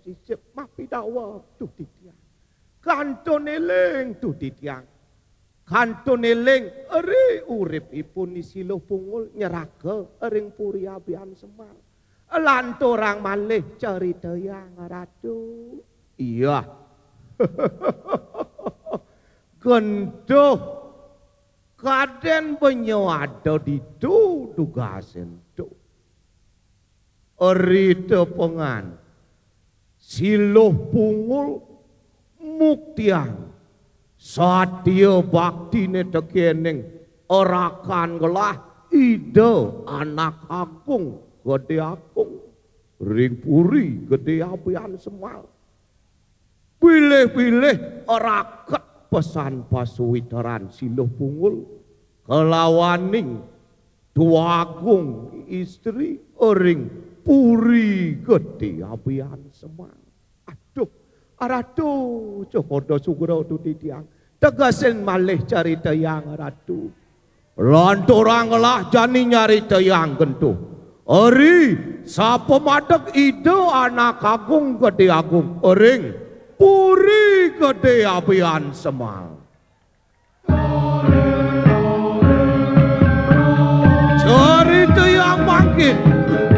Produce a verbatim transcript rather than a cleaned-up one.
sisip mapidawa duh titiang. Kantun éling duh titiang. Kantun éling ri uripipun I Siluh Pungul nyeraga ring Puri Abian Semal. Lanturang malih caritayang Ratu. Iya. Genduh kadén benya ada ditu dugasé ento. Ri tepengan Siluh Pungul muktiang satia baktiné tekéning rakan gelah Ida Anak Agung Gedé Agung ring Puri Gedé Abian Semal. Bilih-bilih raket pesan pasuwiteran Siluh Pungul kalawaning Tuagung Istri ring Puri Gedé Abian Semal. Aduh, Ratu, cokoda sugra duh titiang. Tegasin malih caritayang Ratu. Lanturang gelah jani nyaritayang genduh. Ri sapamadeg Ida Anak Agung Gedé Agung ring Puri Gedé Abian Semal. Caritayang mangkin.